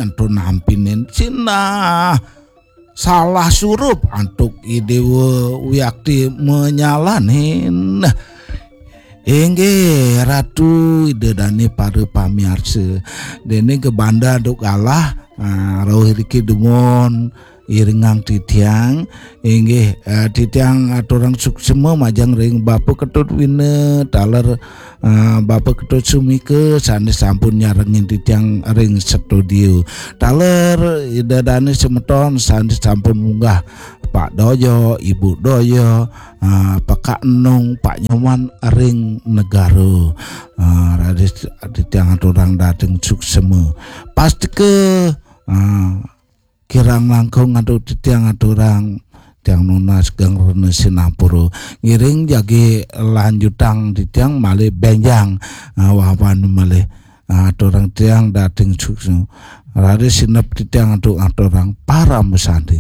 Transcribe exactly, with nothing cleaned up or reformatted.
antuk nampinin sinah salah surup antuk Idewa Wiakti menyalanin. Inggih Ratu Ida Dane para pamiarsa. Dene gebanda duk galah, ah, rauh iriki dumun iringang titiang. Inggih, ah, titiang aturang suksma majeng ring Bapa Ketut Wina taler, ah, Bapa Ketut Sumika sane sampun nyarengin titiang ring studio. Taler Ida Dane semeton sane sampun munggah Pak Doyo, Ibu Doyo, ah, Pak Enung, Pak Nyoman ring negara. Ah, raris titiang aturang dating suksma. Pastika, ah, kirang langkung antuk titiang aturang, tiang nunas geng rena sinampura. Ngiring jagi lanjutang titiang malih benjang, ah, wawan malih. Ah, aturang tiang dating suksma. Raris sinep titiang antuk aturang parama santi.